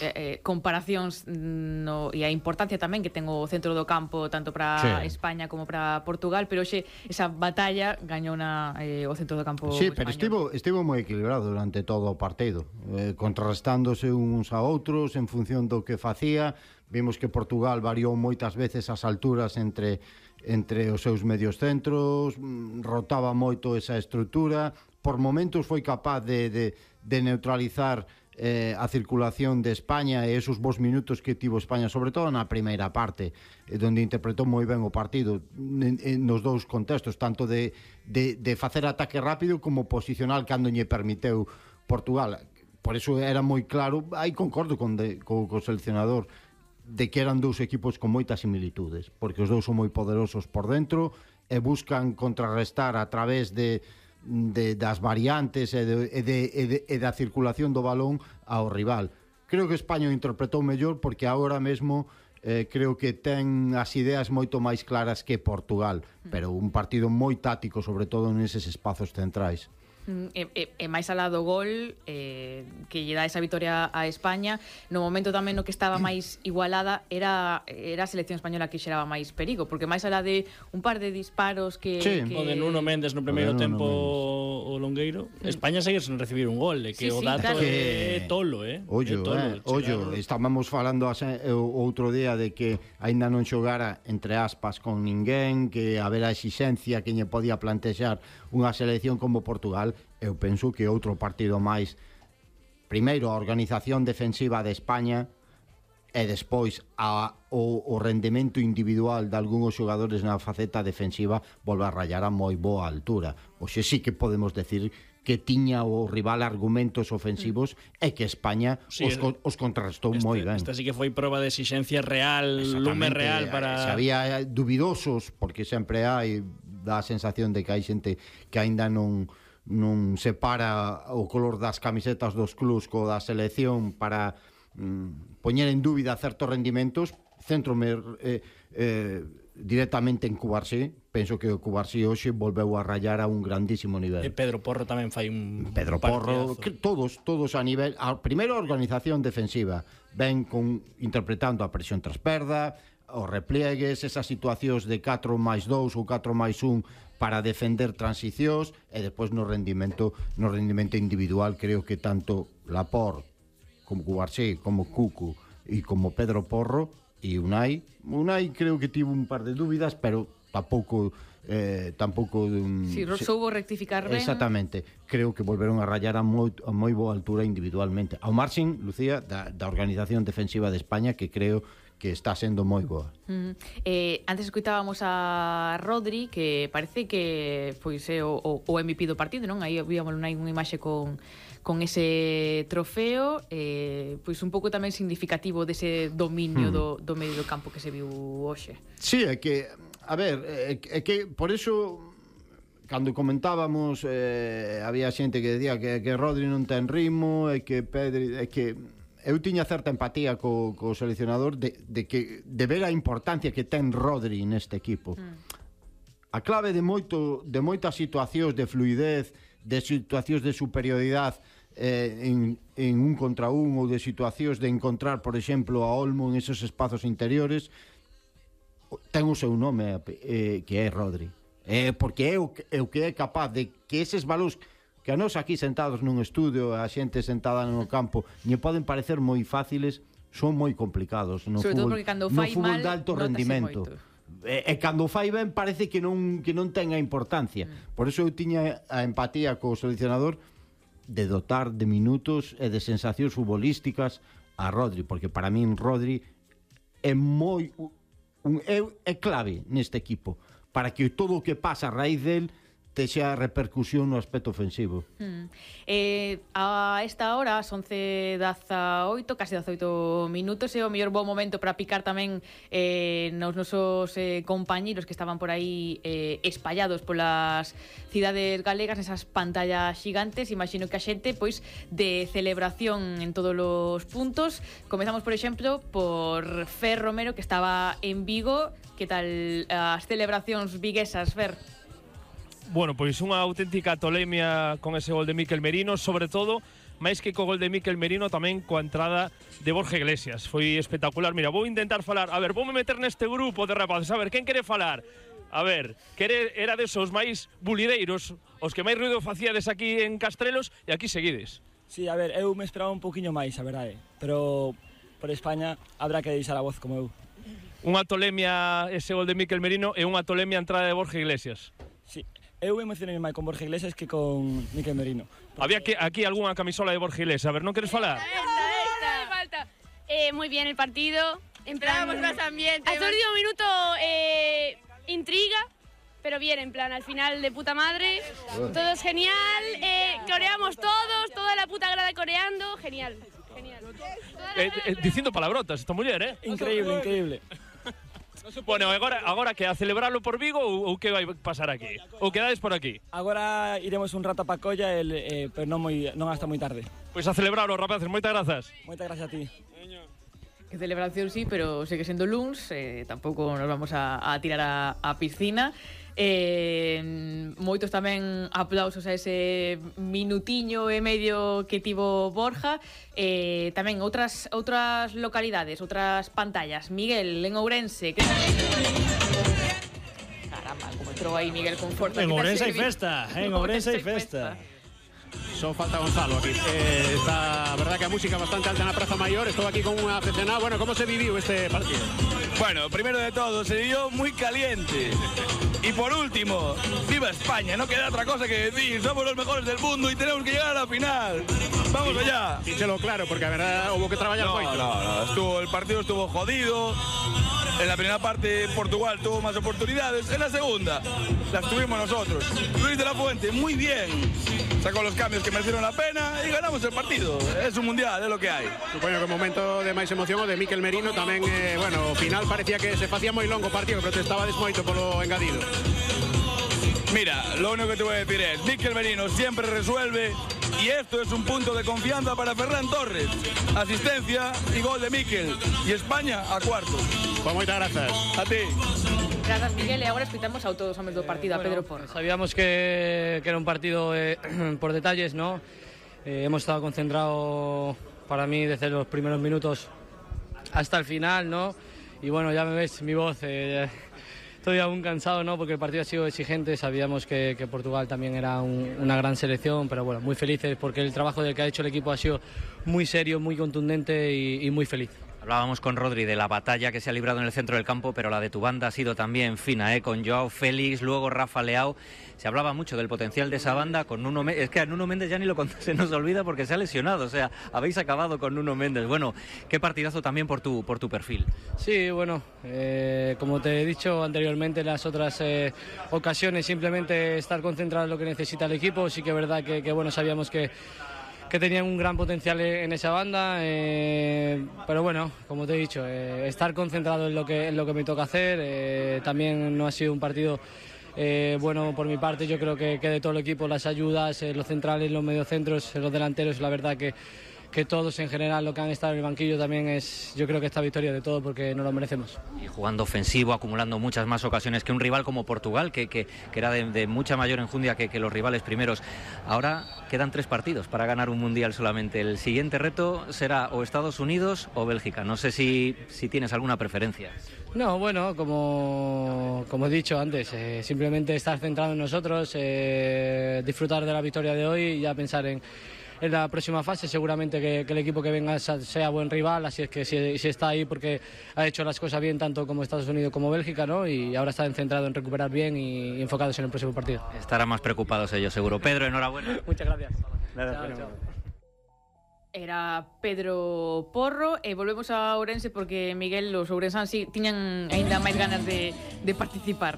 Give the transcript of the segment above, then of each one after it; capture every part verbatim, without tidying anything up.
eh, comparacións no, e a importancia tamén que ten o centro do campo tanto para sí. España como para Portugal, pero hoxe esa batalla gañou na, eh, o centro do campo sí, español. pero estivo, estivo moi equilibrado durante todo o partido, eh, contrarrestándose uns a outros en función do que facía. Vimos que Portugal variou moitas veces as alturas entre entre os seus medios centros, rotaba moito esa estrutura, por momentos foi capaz de, de, de neutralizar eh, a circulación de España e esos bons minutos que tivo España, sobre todo na primeira parte, eh, onde interpretou moi ben o partido en, en, nos dous contextos, tanto de, de, de facer ataque rápido como posicional cando lle permiteu Portugal. Por eso era moi claro, aí concordo con, de, co, co seleccionador, de que eran dous equipos con moitas similitudes, porque os dous son moi poderosos por dentro e buscan contrarrestar a través de, de das variantes e, de, e, de, e, de, e da circulación do balón ao rival. Creo que España o interpretou mellor porque agora mesmo eh, creo que ten as ideas moito máis claras que Portugal, pero un partido moi táctico, sobre todo neses espazos centrais. E, e, e máis alá do gol eh, que lle dá esa vitoria a España, no momento tamén no que estaba máis igualada era, era a selección española que xeraba máis perigo, porque máis alá de un par de disparos que... Sí, que... o de Nuno Méndez no primeiro tempo o Longueiro, España segue sen recibir un gol, e que sí, o dato sí, claro. é tolo, eh? Ollo, tolo, eh, ollo, estábamos falando outro día de que aínda non xogara entre aspas con ninguén, que habera exixencia que lle podía plantexar unha selección como Portugal. Eu penso que outro partido máis, primeiro a organización defensiva de España e despois a, o, o rendemento individual de algúns xogadores na faceta defensiva volve a rayar a moi boa altura. Oxe sí que podemos decir que tiña o rival argumentos ofensivos mm. e que España sí, os, os contrarrestou este, moi ben. Esta sí que foi proba de exixencia real, lume real para... Se había dubidosos, porque sempre hai, dá a sensación de que hai xente que aínda non non separa o color das camisetas dos clubs co da selección para mm, poñer en dúbida certos rendimentos. Centrome eh, eh, directamente en Cubarsí. Penso que o Cubarsí hoxe volveu a rayar a un grandísimo nivel. E Pedro Porro tamén fai un Pedro Porro, que todos, todos a nivel, a primeira organización defensiva, ben con interpretando a presión tras perda, os repliegues, esas situacións de catro máis dous ou catro máis un para defender transicións, e despois no rendimento no rendimento individual creo que tanto Laporte como Cubarsí, como Cucu e como Pedro Porro e Unai, Unai creo que tivo un par de dúbidas, pero tampouco eh, tampouco um, si sí, soubo rectificar ben. Exactamente, creo que volveron a rayar a moi, a moi boa altura individualmente, ao marxen, Lucía, da, da organización defensiva de España, que creo que está sendo moi boa. Mm. Eh, antes escutábamos a Rodri, que parece que foi eh, o, o, o M V P do partido, non? Aí víamos unha imaxe con, con ese trofeo, eh, pois un pouco tamén significativo dese dominio mm. do, do medio do campo que se viu hoxe. Sí, é que, a ver, é, é que por eso cando comentábamos eh, había xente que decía que, que Rodri non ten ritmo, e que Pedri, é que eu tiña certa empatía co, co seleccionador de, de que de ver a importancia que ten Rodri neste equipo. Mm. A clave de moito de moitas situacións de fluidez, de situacións de superioridade eh, en, en un contra un, ou de situacións de encontrar, por exemplo, a Olmo en esos espazos interiores, ten o seu nome, eh, que é Rodri. Eh, porque é o, é o que é capaz de que eses valores que a nos aquí sentados nun estudio, a xente sentada no campo, lle poden parecer moi fáciles, son moi complicados no sobre fútbol, todo porque cando fai no fútbol mal, de alto rendimento. E, e cando fai ben parece que non que non ten a importancia. Mm. Por eso eu tiña a empatía co seleccionador de dotar de minutos e de sensacións futbolísticas a Rodri, porque para min Rodri é moi un, é, é clave neste equipo para que todo o que pasa a raíz del texa repercusión no aspecto ofensivo. Mm. Eh, a esta hora, as once dezaoito, casi dezaoito minutos, é o mellor bo momento para picar tamén eh, nos nosos eh, compañeros que estaban por aí eh, espallados polas cidades galegas, nesas pantallas xigantes. Imagino que a xente, pois, de celebración en todos os puntos. Comezamos, por exemplo, por Fer Romero, que estaba en Vigo. Que tal as celebracións viguesas, Fer? Bueno, pois unha auténtica tolemia con ese gol de Mikel Merino, sobre todo máis que co gol de Mikel Merino, tamén coa entrada de Borja Iglesias. Foi espectacular. Mira, vou intentar falar, a ver, voume meter neste grupo de rapaces, a ver, quen quere falar? A ver, quere, era desos máis bulideiros, os que máis ruido facíades aquí en Castrelos, e aquí seguides. Sí, a ver, eu me esperaba un poquinho máis, a verdade, pero por España habrá que deixar a voz como eu. Unha tolemia ese gol de Mikel Merino e unha tolemia a entrada de Borja Iglesias. Sí, eu emocionei máis con Borja Iglesias que con Mikel Merino. Porque... Había que, aquí algunha camisola de Borja Iglesias, a ver, non queres falar? Esta, esta, falta. Eh, muy bien el partido, en plan... Esperábamos más ambiente. Hasta el último minuto, eh, intriga, pero bien, en plan, al final de puta madre, todo es genial, eh, coreamos todos, toda la puta grada coreando, genial. Genial. Eh, eh, dicindo palabrotas esta muller, eh? Increíble, increíble. Bueno, agora, agora que a celebrarlo por Vigo ou, ou que vai pasar aquí? Ou quedades por aquí? Agora iremos un rato a Pacolla, el, eh, pero non, moi, non hasta moi tarde. Pois a celebrarlo, rapaces, moitas grazas. Moitas gracias a ti. Que celebración sí, pero sigue sendo luns, eh, tampouco nos vamos a, a tirar a, a piscina. Eh, moitos tamén aplausos a ese minutiño e medio que tivo Borja. Eh, tamén outras outras localidades, outras pantallas. Miguel, en Ourense, que... Caramba, como entrou aí Miguel con forza. En Ourense hai festa, en Ourense hai festa. Só falta Gonzalo aquí. Eh, está, a verdad que a música bastante alta na Praza Maior. Estou aquí con un aficionado. Bueno, como se viviu este partido? Bueno, primero de todo, se vivió muy caliente. Y por último, ¡viva España! No queda otra cosa que decir. Somos los mejores del mundo y tenemos que llegar a la final. ¡Vamos allá! Díselo claro, porque a verdad hubo que trabajar no, moito. No, no, estuvo, el partido estuvo jodido. En la primera parte Portugal tuvo más oportunidades. En la segunda las tuvimos nosotros. Luis de la Fuente, muy bien. Sacó los cambios que merecieron la pena y ganamos el partido. Es un mundial, es lo que hay. Supoño que o momento de máis emoción o de Mikel Merino tamén, eh, bueno, ao final parecía que se facía moi longo o partido, pero te estabades moito polo engadido. Mira, lo único que te voy a decir es, Mikel Merino siempre resuelve y esto es un punto de confianza para Ferran Torres. Asistencia y gol de Mikel. Y España a cuarto. Pues moitas grazas. A ti. Grazas, Miguel, e agora escutamos a todos os homes do partido, eh, bueno, a Pedro Porro. Sabíamos que, que era un partido eh, por detalles, ¿no? Eh, hemos estado concentrados para mí desde los primeros minutos hasta el final, ¿no? Y bueno, ya me ves mi voz, eh, estoy aún cansado, ¿no? Porque el partido ha sido exigente, sabíamos que, que Portugal también era un, una gran selección, pero bueno, muy felices porque el trabajo del que ha hecho el equipo ha sido muy serio, muy contundente y, y muy feliz. Hablábamos con Rodri de la batalla que se ha librado en el centro del campo, pero la de tu banda ha sido también fina, ¿eh? Con Joao Félix, luego Rafa Leao. Se hablaba mucho del potencial de esa banda con Nuno Méndez. Es que a Nuno Méndez ya ni lo se nos olvida porque se ha lesionado. O sea, habéis acabado con Nuno Méndez. Bueno, qué partidazo también por tu, por tu perfil. Sí, bueno, eh, como te he dicho anteriormente en las otras eh, ocasiones, simplemente estar concentrado en lo que necesita el equipo. Sí que es verdad que, que bueno, sabíamos que que tenían un gran potencial en esa banda, eh, pero bueno, como te he dicho, eh, estar concentrado en lo que, en lo que me toca hacer. Eh, también no ha sido un partido eh, bueno por mi parte. Yo creo que, que de todo el equipo, las ayudas, eh, los centrales, los mediocentros, los delanteros, la verdad que, que todos en general, lo que han estado en el banquillo también es, yo creo que esta victoria de todo porque no lo merecemos. Y jugando ofensivo, acumulando muchas más ocasiones que un rival como Portugal, que, que, que era de, de mucha mayor enjundia que, que los rivales primeros. Ahora quedan tres partidos para ganar un mundial solamente. El siguiente reto será o Estados Unidos o Bélgica. No sé si, si tienes alguna preferencia. No, bueno, como, como he dicho antes, eh, simplemente estar centrado en nosotros, eh, disfrutar de la victoria de hoy y ya pensar en en la próxima fase. Seguramente que, que el equipo que venga sea buen rival, así es que si, si está ahí porque ha hecho las cosas bien tanto como Estados Unidos como Bélgica, ¿no? Y ahora está centrado en recuperar bien y, y enfocados en el próximo partido. Estarán más preocupados ellos, seguro. Pedro, enhorabuena. Muchas gracias. Nada, chao, chao. Era Pedro Porro e volvemos a Ourense porque Miguel, os ourensáns sí, tiñan aínda máis ganas de, de participar.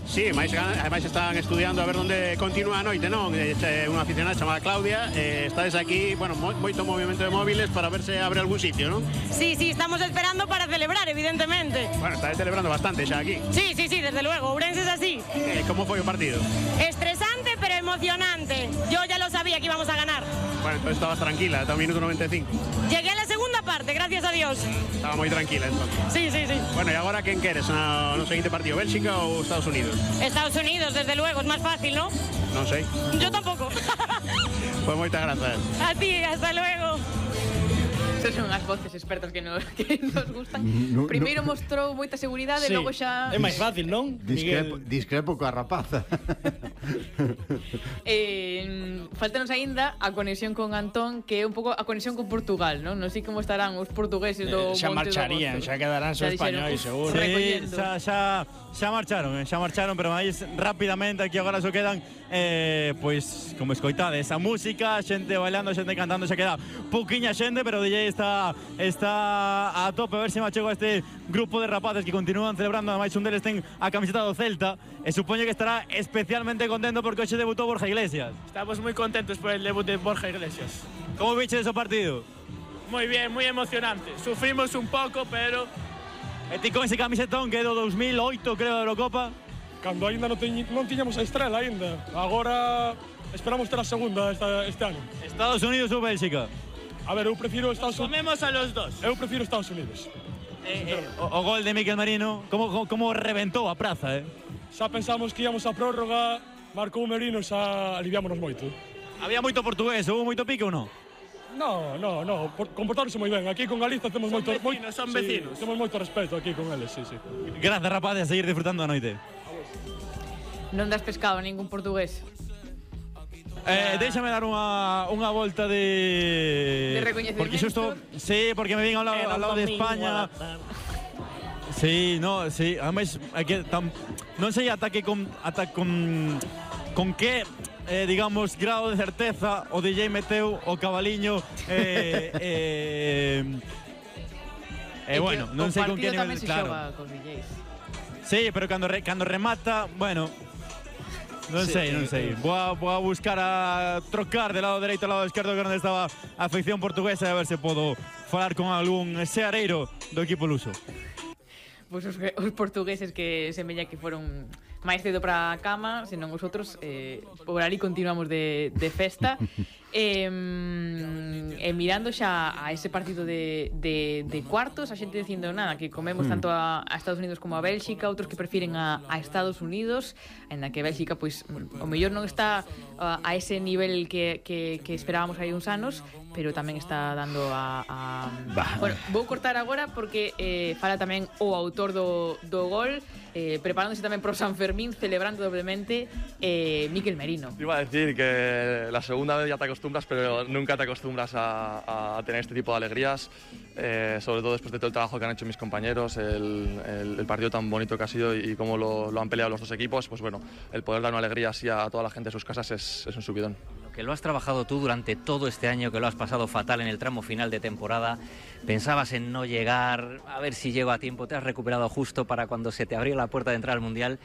Sí, máis, ademais están estudiando a ver onde continúa a noite, non? É unha aficionada chamada Claudia, eh, estades aquí, bueno, mo, moito movimento de móviles para ver se abre algún sitio, non? Sí, sí, estamos esperando para celebrar, evidentemente. Bueno, estáis celebrando bastante xa aquí. Sí, sí, sí, desde luego, Ourense es así. Eh, como foi o partido? Estresante, pero emocionante. Yo ya lo sabía que íbamos a ganar. Bueno, entonces estabas tranquila, hasta un minuto noventa y cinco. Llegué a la segunda parte, gracias a Dios. Estaba moi tranquila, entonces. Sí, sí, sí. Bueno, e agora quen queres no, no seguinte partido, Bélxica ou Estados Unidos? Estados Unidos, desde luego, es más fácil, ¿no? Non sei. Yo tampoco. Pues moitas grazas. A ti, hasta luego. Estas son as voces expertas que nos, que nos gustan. No, Primeiro no. mostrou moita seguridade, Sí. logo xa... É máis fácil, non? Discrepo, Miguel. discrepo coa rapaza. Eh, faltanos aínda a conexión con Antón, que é un pouco a conexión con Portugal, non? Non sei como estarán os portugueses do Eh, xa Monte do marcharían, Gozo. xa quedarán Xa só dixeron, españois, "Uf, seguro". Sí, recollendo". xa, xa, xa marcharon, eh, xa marcharon, pero máis rapidamente aquí agora só quedan eh, pois, como escoitades, a música, xente bailando, xente cantando, xa queda pouquiña xente, pero o D J está está a tope, a ver se me achego a este grupo de rapaces que continúan celebrando, ademais un deles ten a camiseta do Celta, e supoño que estará especialmente contento porque hoxe debutou Borja Iglesias. Estamos muy contentos por el debut de Borja Iglesias. Como viche ese partido? Muy bien, muy emocionante. Sufrimos un poco, pero... E ti con ese camisetón que é do dos mil oito, creo, da Eurocopa? Cando ainda non, teñ, non tiñamos a estrela ainda. Agora esperamos ter a segunda esta, este ano. Estados Unidos ou Bélxica? A ver, eu prefiro Estados Unidos. Comemos a los dos. Eu prefiro Estados Unidos. Eh, eh, o, o gol de Mikel Merino, como, como, como reventou a praza, eh? Xa pensamos que íamos a prórroga, marcou Merino, xa aliviámonos moito. Había moito portugués, houve moito pique ou non? No, no, no, comportáronse moi ben. Aquí con Galiza temos Son moito... vecinos, son sí, vecinos. Temos moito respeto aquí con eles, sí, sí. Gracias, rapaces, a seguir disfrutando a noite. Non das pescado a ningún portugués. Eh, déxame dar unha, unha volta de... De recoñecemento. Porque xusto... Sí, porque me vin ao lado, ao lado de España. Sí, no, sí. Ademais, é que tam, non sei ata que con, ata con, con que, eh, digamos, grado de certeza o D J meteu o cabaliño eh, eh, eh, bueno, non sei con que nivel, nivel, se claro. xoga cos D Js. Sí, pero cando, re, cando remata, bueno, non Sí, sei, non sí, sei. sí. Vou a, vou a buscar a trocar de lado dereito ao lado esquerdo, que é onde estaba a afección portuguesa, e a ver se podo falar con algún seareiro do equipo luso. Pois os, os portugueses que semella que foron máis cedo para a cama, senón os outros eh, por ali continuamos de, de festa. E, e mirando xa a ese partido de, de, de cuartos, a xente dicindo nada, que comemos tanto a, a Estados Unidos como a Bélxica, outros que prefiren a, a Estados Unidos, en na que Bélxica, pois, o mellor non está a, a ese nivel que, que, que esperábamos hai uns anos, pero tamén está dando a... a... Bueno, vou cortar agora porque eh, fala tamén o autor do, do gol, eh, preparándose tamén pro San Fermín, celebrando doblemente, eh, Mikel Merino. Te iba a decir que la segunda vez ya te acostumbras, pero nunca te acostumbras a, a tener este tipo de alegrías, eh, sobre todo después de todo el trabajo que han hecho mis compañeros, el, el, el partido tan bonito que ha sido y cómo lo, lo han peleado los dos equipos, pues bueno, el poder dar una alegría así a toda la gente de sus casas es, es un subidón. Que lo has trabajado tú durante todo este año, que lo has pasado fatal en el tramo final de temporada, pensabas en no llegar, a ver si llego a tiempo, te has recuperado justo para cuando se te abrió la puerta de entrar al Mundial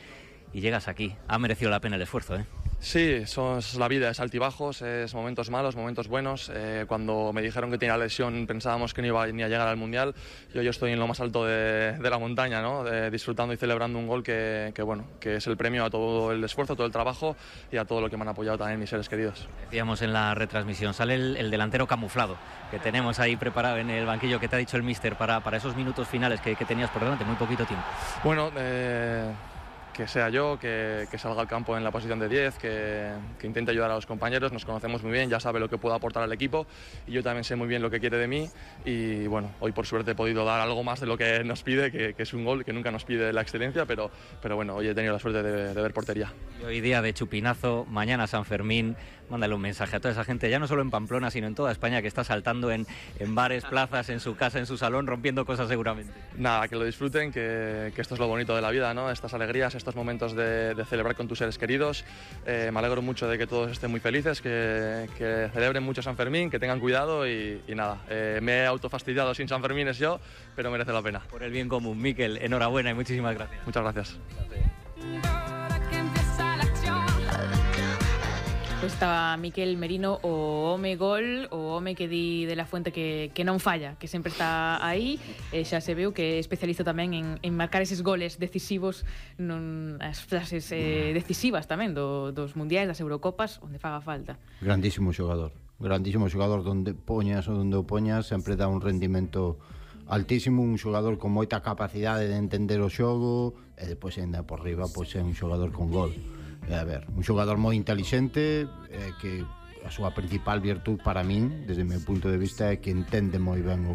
y llegas aquí. Ha merecido la pena el esfuerzo, ¿eh? Sí, eso es la vida, es altibajos, es momentos malos, momentos buenos. Eh, cuando me dijeron que tenía la lesión pensábamos que no iba ni a llegar al Mundial. Yo, yo estoy en lo más alto de, de la montaña, ¿no? De, disfrutando y celebrando un gol que, que, bueno, que es el premio a todo el esfuerzo, todo el trabajo y a todo lo que me han apoyado también mis seres queridos. Decíamos en la retransmisión, sale el, el delantero camuflado que tenemos ahí preparado en el banquillo, que te ha dicho el míster para, para esos minutos finales que, que tenías por delante, muy poquito tiempo. Bueno, eh... que sea yo, que, que salga al campo en la posición de diez, que, que intente ayudar a los compañeros, nos conocemos muy bien, ya sabe lo que puedo aportar al equipo y yo también sé muy bien lo que quiere de mí y bueno, hoy por suerte he podido dar algo más de lo que nos pide, que, que es un gol, que nunca nos pide la excelencia, pero, pero bueno, hoy he tenido la suerte de, de ver portería. Y hoy día de chupinazo, mañana San Fermín, mándale un mensaje a toda esa gente, ya no solo en Pamplona, sino en toda España, que está saltando en, en bares, plazas, en su casa, en su salón, rompiendo cosas seguramente. Nada, que lo disfruten, que, que esto es lo bonito de la vida, ¿no? Estas alegrías, estos momentos de, de celebrar con tus seres queridos. Eh, me alegro mucho de que todos estén muy felices, que, que celebren mucho San Fermín, que tengan cuidado y, y nada, eh, me he autofastidiado sin San Fermín es yo, pero merece la pena. Por el bien común, Mikel, enhorabuena y muchísimas gracias. Muchas gracias. Pois estaba Mikel Merino, o home gol, o home que di de la Fuente que, que non falla, que sempre está aí, e xa se veu que é especialista tamén en, en marcar eses goles decisivos, non, as frases eh, decisivas tamén do, dos mundiais, das Eurocopas, onde faga falta. Grandísimo xogador, grandísimo xogador, donde poñas ou donde o poñas sempre dá un rendimento altísimo, un xogador con moita capacidade de entender o xogo e depois ainda por riba pois é un xogador con gol. A ver, un xogador moi intelixente, eh, que a súa principal virtud para min, desde o meu punto de vista, é que entende moi ben o,